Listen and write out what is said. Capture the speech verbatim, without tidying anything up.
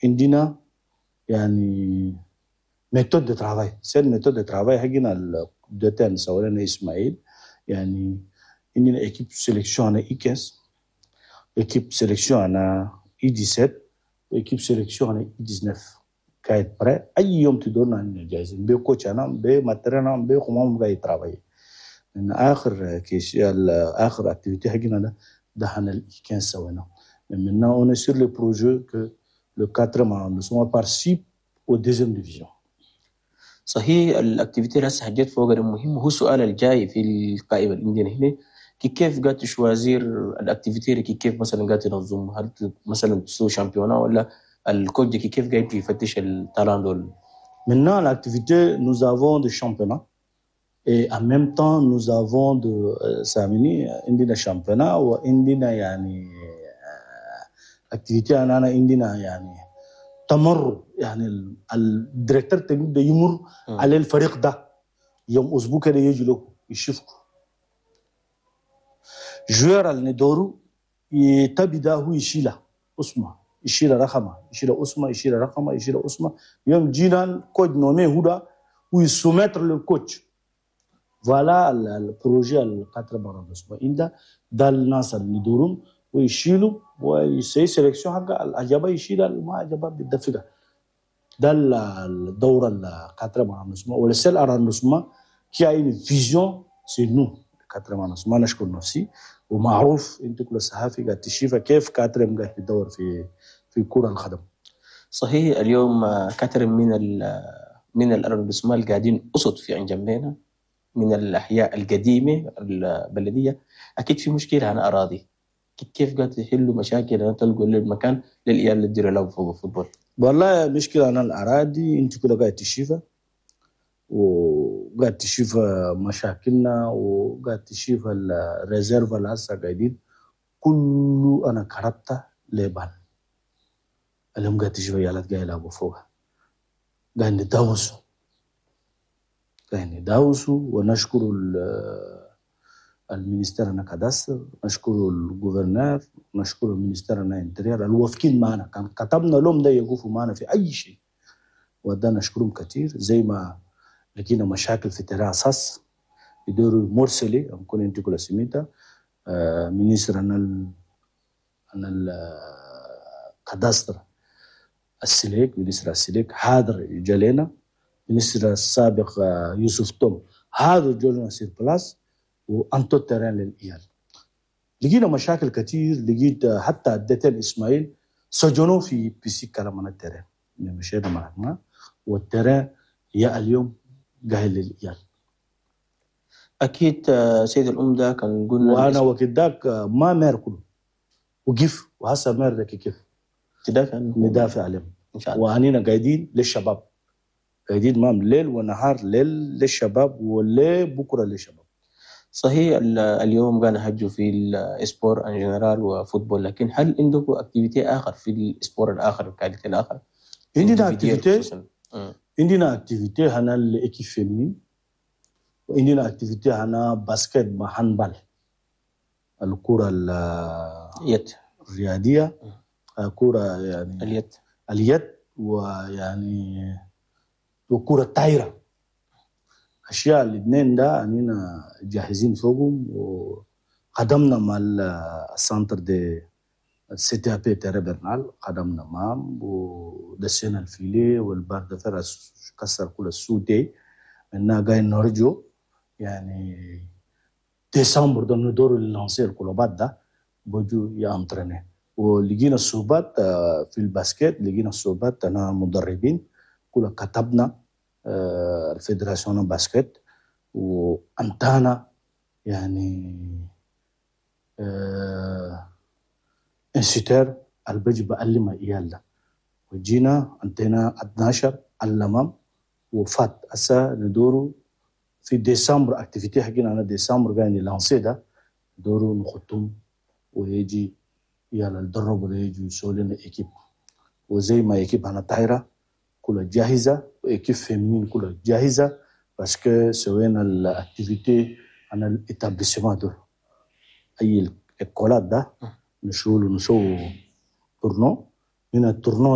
عندنا يعني méthode de travail، cette méthode de travail حقنا ال D T N سوينا اسماعيل. يعني عندنا équipe sélection هنا U quinze، équipe sélection هنا U dix-sept، و équipe sélection هنا U dix-neuf قاعد prêt. اي يوم تدورنا عندنا جاهزين ب coach هنا، ب matériel هنا، ب قاعد travailler. من اخر كيس اخر activité حقنا ده ده هنا ال U quinze سوينا. Maintenant, on est sur le projet que le quatrième arrondissement participe au deuxième division. صحيح، ال activité اللي هسه حجيت فوق المهم هو السؤال الجاي في القائمة اللي عندنا هنا: كي كيف قاعد choisir ال activité؟ كي كيف مثلا قاعد تنظم؟ هل مثلا تسوي championnat ولا ال coach كي كيف قاعد يفتش ال talents دول؟ Maintenant, l'activité, nous avons des championnats. Et en même temps, nous avons de ساميني عندنا championnat وعندنا يعني activité. انا انا عندنا يعني تمر، يعني ال directeur technique يمر على الفريق ده يوم اسبوع كده، يجي له يشوفكم joueur اللي ندورو يتبدا هو يشيله اسمه، يشيل رقمه، يشيل اسمه، يشيل رقمه، يشيل اسمه. يوم جينا coach nommé هو وي soumettre le coach. voilà ال projet ال quatrième arrondissement عند ده الناس اللي ندورهم ويشيلوا ويسوي sélection حق العجبه يشيل، ما عجبه بالدفقه. ده الدورة ال quatrième arrondissement و le seul arrondissement qui a une vision، c'est nous، quatrième arrondissement. نشكر نفسي ومعروف انت كل الصحافي قاعد تشوف كيف quatrième قاعد تدور في في كره القدم. صحيح، اليوم كثير من ال من ال arrondissements القاعدين قصد في انجمينا من الاحياء القديمة البلديه، اكيد في مشكلة عن اراضي. كيف قاعد تحلوا مشاكل أنا تلقوا المكان للعيال اللي تديروا لعبوا فوق ال football؟ والله مشكلة أنا الأراضي أنت كلها قاعد تشوفها، وقاعد تشوف مشاكلنا، وقاعد تشوف ال réserve اللي هسه قاعدين كله أنا كربته لبان. اليوم قاعد تشوف عيالات قاعد يلعبوا فوقها، قاعد نداوسوا، قاعد نداوسوا. ونشكر ال ministère هنا cadastre، نشكر ال gouverneur، نشكر ال ministère هنا intérieur الوافقين معنا. كان كتبنا لهم ده يقفوا معنا في اي شيء، وده نشكرهم كثير. زي ما لقينا مشاكل في terrain اساس يدوروا morceler نكون انت كل سميتا آه ministre هنا ال هنا ال cadastre السليك، ministre السليك حاضر جالينا، ministre السابق آه، يوسف توم حاضر جولنا sur place وانتو terrain للعيال. لقينا مشاكل كثير، لقيت حتى ال D T N اسماعيل سجنوه في بيسي كلام عن ال terrain. مشينا معنا وال terrain يا اليوم قايل للعيال. اكيد آه، سيد العمدة كان قلنا وانا وقت ذاك ما maire كله وقف، وهسه maire ذاك كيف تدافع عنه. ندافع عليهم. ان شاء الله. وانينا قاعدين للشباب، قاعدين مام ليل ونهار، ليل للشباب وليه بكره للشباب. صحيح، ال- اليوم قاعد نهجوا في ال sport en général و football، لكن هل عندكم activité اخر في ال sport الاخر، ال qualité الاخر؟ عندنا individuel activité. خصوصاً. مم. عندنا activité هنا ال équipe féminine، وعندنا activité هنا basket مع handball، الكرة ال- يد. الرياضية، كرة يعني اليد. اليد، ويعني وكرة الطايرة. اشياء الاثنين ده اننا جاهزين فوقهم، وخدمنا مع ال centre de C T A P terrain برنال، خدمنا معهم ودسينا ال filet وال barre de fer كسر كل السودي. اننا قاعد نرجو يعني ديسمبر ده ندور lancer الكلوبات ده بجو ي entraîner. ولقينا الصعوبات آه، في ال basket، لقينا الصعوبات انا مدربين كل كتبنا آه، ال fédération basket وانتانا يعني آه، instituteur البجي بعلم عيال ده، وجينا انتينا اثنا عشر علمهم وفات. هسه ندورو في ديسمبر activité حقنا انا ديسمبر قاعد lancer ده، ندورو نخطهم ويجي يلا الدرب ولا يجي يسوي لنا équipe. وزي ما équipe انا طايره كلها جاهزة و équipe féminine كلها جاهزه، parce que سوينا ال activité انا ال établissement دول اي الكولات ده نشول نسوي tournoi من ال tournoi.